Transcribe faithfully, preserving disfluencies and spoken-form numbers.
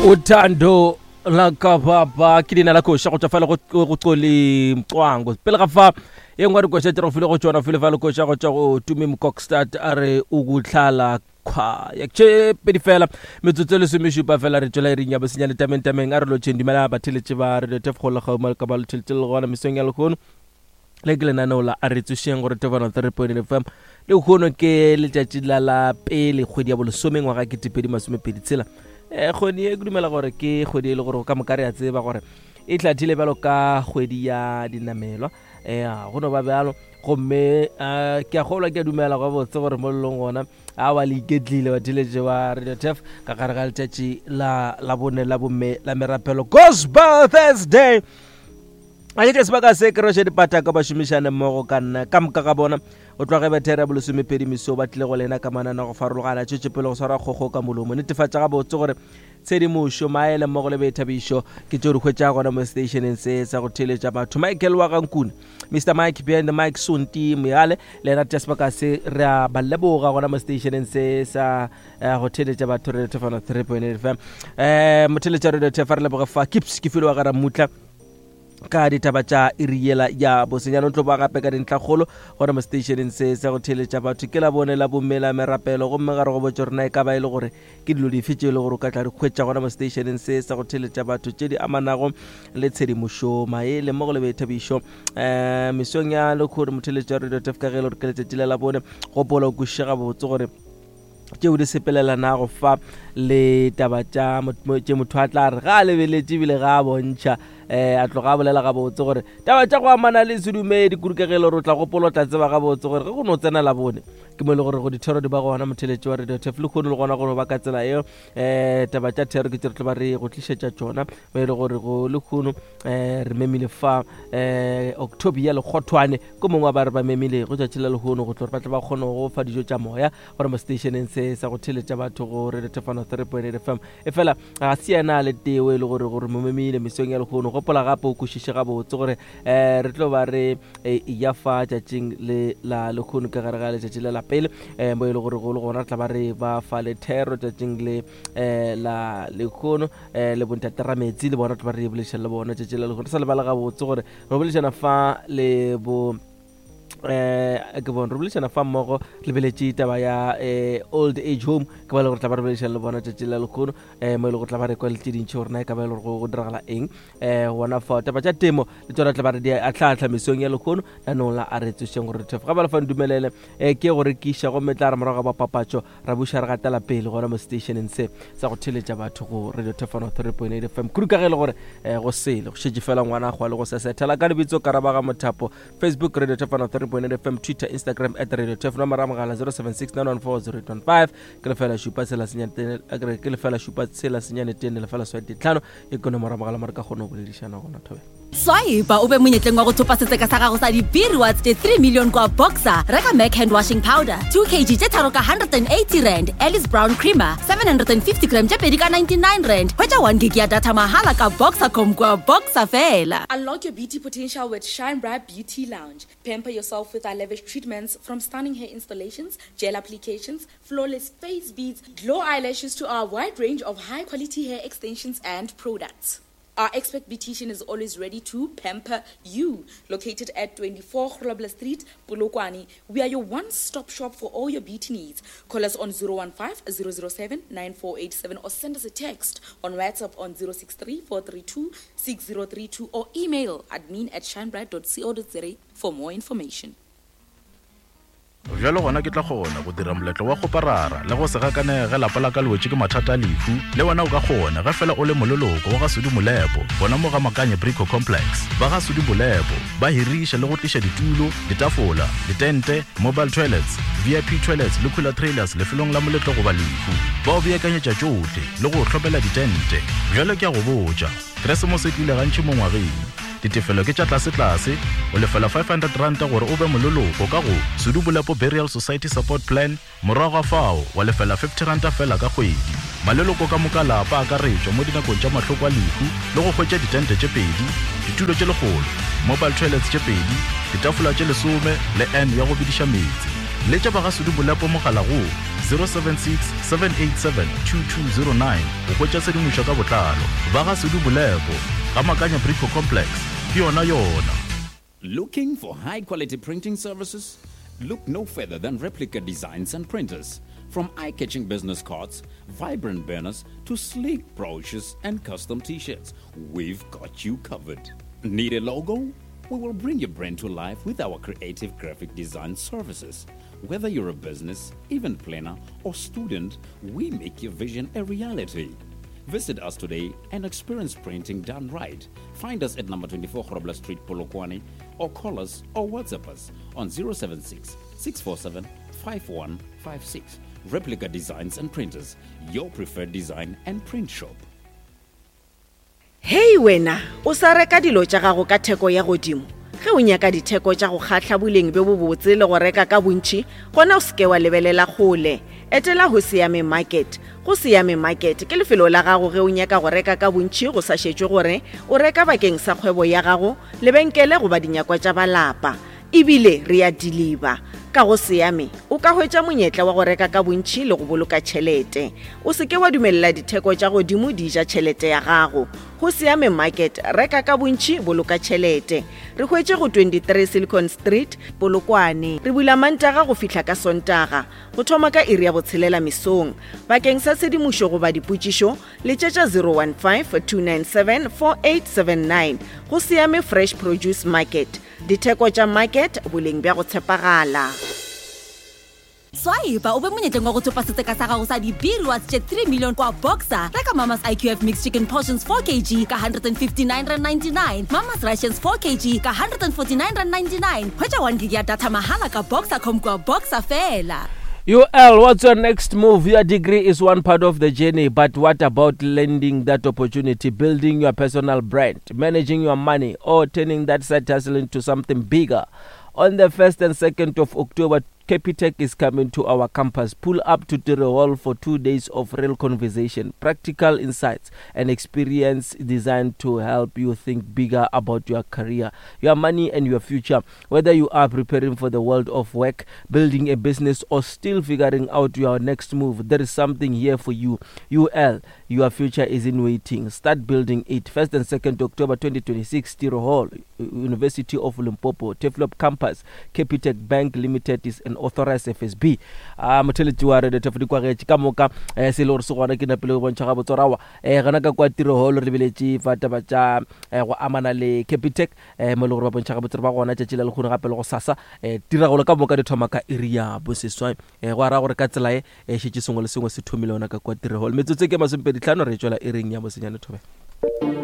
Uthando lakababa ke leina la koša go tšwa fale go Xoli Mcwango. Pele ga fa ye nngwe dikoša tše re file go tšona file fa le koša go tšwa go Tumi Mkokstad a re ukutlhala khwa ya tše pedi fela metsotso e lesomešupa fela re tšwela iring ya bosenyane tameng tameng a re lotšheng. Dumela batheletše ba Radio Tefo go la ka ba letheletše le gona mesong ya lehono. Le ke lenaneo la a re tsošeng gore Tefano three point F M. Lehono ke letšatši la la pele kgwedi ya bolesome ngwaga ke ketepedi masomepedi tshela. Eh kgwedi e ke dumela gore ke kgwedi e le gore ka moka re a tseba gore e tlathile bjalo ka kgwedi ya dinamelwa. Eh go no ba bjalo gomme ke a kgolwa ke a dumela gabotse gore mo lelong gona a wa le iketlile batheletše ba Radio Tef ka gare ga letšatši la la bone la bomme la merapelo Gospel Thursday. A ke sebaka se ke roše dipata ka bašomišane mmogo ka nna ka moka ga bona o tloge bethera bolesomepedi meso ba tlile go lena ka manana go farologana tšwetšepele go swara kgogo ka molomo. Netefatša gabotse gore tshedimošo maele mmogo le boithabišo ke tšeo di hwetša gona mo stationeng se sa go theeletša batho. Michael wa Gankune, Mister Mike behind the mic, Sonti Moyale le ena tia sebaka se re a ba leboga gona mo stationeng se sa go theeletša batho Radio Tefano three point eight F M. Eh motheeletša Radio Tefano re leboga fa Kips ke file wa ga Ramutla ka ditaba tša iriela ya bosenyane. O tlo ba gape ka dintlhakgolo gona mo stationeng se sa go theeletša batho ke la bone la bomme la merapelo gomme ga re go botse rena e ka ba e le gore ke dilo dife tše e le gore o ka tla di hwetša gona mo stationeng se sa go theeletša batho tše di amanago le tshedimošo maele mmogo le boithabišo. Um mesong ya lekgore motheeletša Radio Tef ka ge e le gore ke letšatši la la bone gopola o kwešiše gabotse gore tšeo di sepelelanago fa le taba tša tše motho a tla re ga a lebeletše ebile ga a bontšha um a tloga a bolela gabotse gore taba tša go amana le sedumedi kudu ka ge e le gore o tla gopola o tla tseba gabotse gore ge go no tsena la bone ke mo e le gore go dithero di ba gona motheletše wa Radio Tef le kgone le gona go ba ka tsela eo. Um taba tša thero ke tše re tlo ba re go tlišetša tšona mo e le gore go le kgono um re memile fa um Octobia Lekgothwane ko mongwe wa ba re ba memile go tšatši la lehono go tlo gore ba tle ba kgone go fa dijo tša moya gore mo stationeng se sa go theeletša batho go Radio Tefano three point eight F M. E fela ga se yena le teo e le gore gore mo memile mesong ya lehono. Gopola gape o kwešiše gabotse gore um re tlo ba re ya fa tšatšing le la lehono ka gare ga letšatši le la pele um mo e le gore go le gona re tla ba re ba fa le thero tšatšing le um la lehono um le bontate Rametsi le bona tlo ba re boledišana le bona tšatši la lehono. Re sa lebala gabotse gore re boledišana fa le bo eh ke bona re boledišana fa mmogo lebeletše taba ya eh old age home ke ba le gore tla ba re boledišana le bona tšatši la lehono eh mo e le gore tla ba re kwa le tše dintši gore na e ka ba e le gore go diragala eng eh gona fa taba tša temo le tsona tla ba re di atlhaatlha mesong ya lehono lanong la a re tsošeng gore thef ga ba le fa ndumelele eh ke go rekiša gomme tla re morago ga papatšo ra buša re gatela pele gona mo stationeng se sa go theeletša batho go Radio Tefano three point eight F M. Kudu ka ge e le gore eh go sele go šetše fela ngwana go le go sesethela ka lebitso Karabaga Mothapo. Facebook Radio Tefano three point eight F M, Twitter, Instagram at Radio Tef, nomoro ya mogala zero seven six nine one four zero eight one five ke lefela šupa tshela senyane tene ke lefela šupa tshela senyane tene lefela swai tlhano e ke nomoro ya mogala mo re ka kgona go boledišana gona thobela. Swipe o be monyetleng wa go thopa setseka sa gago sa di-B rewards tše three million kwa Boxer. Reka Mac hand washing powder two kg tše tharo ka one hundred and eighty rand, Alice Brown creamer seven hundred and fifty gram tše pedi ka ninety-nine rand. Hwetša one gig ya data mahala ka Boxercom kwa Boxer fela. Unlock your beauty potential with Shine Bright Beauty Lounge. Pamper yourself with our lavish treatments from stunning hair installations, gel applications, flawless face beads, glow eyelashes to our wide range of high-quality hair extensions and products. Our expert beautician is always ready to pamper you. Located at twenty-four Grobler Street, Polokwane, we are your one-stop shop for all your beauty needs. Call us on zero one five, zero zero seven, nine four eight seven or send us a text on WhatsApp on zero six three, four three two, six zero three two or email admin at shinebright dot co dot za for more information. Bjalo gona ke tla kgona go dira moletlo wa go parara le go se gakanege lapa la ka le wetše ke mathata a lehu. Le wena o ka kgona ge fela o le moleloko wa ga Sudi Molepo gona mo ga Makanye Brico Complex. Ba ga Sudi Molepo ba hiriša le go tliša ditulo, ditafola, ditente, mobile toilets, V I P toilets le cooler trailers lefelong la moletlo goba lehu. Ba o beakanyetša tšohle le go hlopela ditente. Bjalo ke a go botša, Keresemose e tlile gantši mo ngwageng. Ditefelo ke tša tlase-tlase, o lefela five hundred rand gore o be moleloko ka go Sudi Molepo Burial Society Support Plan, morago ga fao wa lefela fifty rand fela ka kgwedi. Maleloko ka moka lapa a akaretšwa mo dinakong tša mahloko a lehu le go hwetša ditente tše pedi, ditulo tše lekgolo, mobile toilets tše pedi, ditafola tše lesome le N ya go bidiša meetse. Letša ba ga Sudu Bolepo mogala go zero seven six seven eight seven two two zero nine go hwetša tshedimošo ka botlalo. Ba ga Sudu Bolepo, ga Makanya Brico Complex, ke yona yona. Looking for high quality printing services? Look no further than Replica Designs and Printers. From eye-catching business cards, vibrant banners, to sleek brochures and custom t-shirts, we've got you covered. Need a logo? We will bring your brand to life with our creative graphic design services. Whether you're a business, event planner, or student, we make your vision a reality. Visit us today and experience printing done right. Find us at number twenty-four Grobler Street, Polokwane, or call us or WhatsApp us on zero seven six, six four seven, five one five six. Replica Designs and Printers, your preferred design and print shop. Hey wena, o sa reka dilo tša gago ka theko ya godimo. Ge o nyaka ditheko tša go kgahla boleng bjo bobotse le go reka ka bontši, gona o seke wa lebelela kgole. Etela go Siame Market. Go Siame Market ke lefelo la gago ge o nyaka go reka ka bontši go sa šetšwe gore o reka bakeng sa kgwebo ya gago, lebenkele goba dinyakwa tša balapa. Ebile re a deliver. Ka go Siame o ka hwetša monyetla wa go reka ka bontši le go boloka tšhelete. O seke wa dumelela ditheko tša godimo di ja tšhelete ya gago. Go Siame Market, reka ka bontši, boloka tšhelete. Re hwetše go twenty-three Silicon Street, Polokwane. Re bula Mantaga go fihla ka Sontaga, go thoma ka iri ya botshelela mesong. Bakeng sa tshedimošo goba dipotšišo, letšetša zero one five, two nine seven, four eight seven nine. Go Siame Fresh Produce Market. Ditheko tša market, boleng bja go tshepagala. Swipe o be monyetleng wa go thopa setseka sa gago sa di-B rewards tše three million kwa Boxer. Reka Mama's I Q F mixed chicken portions four kilograms ka hundred and fifty-nine rand ninety-nine, Mama's rations four kilograms ka hundred and forty-nine rand ninety-nine. Hwetša one gig ya data mahala ka Boxer dot com kwa Boxer fela. U L, what's your next move? Your degree is one part of the journey, but what about lending that opportunity, building your personal brand, managing your money, or turning that side hustle into something bigger? On the first and second of October, Capitec is coming to our campus. Pull up to Tiro Hall for two days of real conversation, practical insights, and experience designed to help you think bigger about your career, your money, and your future. Whether you are preparing for the world of work, building a business, or still figuring out your next move, there is something here for you. U L, your future is in waiting. Start building it. first and second October twenty twenty-six, Tiro Hall, University of Limpopo, Turfloop Campus. Capitec Bank Limited is an authorized F S B. Ah, motheletši wa Radio Turf di kwagetše ka moka, eh, se le gore se gona ke napile go bontšha ga botsorawa. Eh, gona ka kwa Tiro Hall re lebeletše fa taba tša, eh, go amana le Capitec, eh, mo e le gore ba bontšha ga botsoro ba gona tšatši la lekgono gape le go sasa. Eh, tiragalo ka moka di thoma ka iri ya boseswai. Eh, go ara gore ka tsela e, eh, šetše sengwe le sengwe se thomile gona ka kwa Tiro Hall. Metsotso ke masomepedi tlhano re tšwela iring ya bosenyane thobe.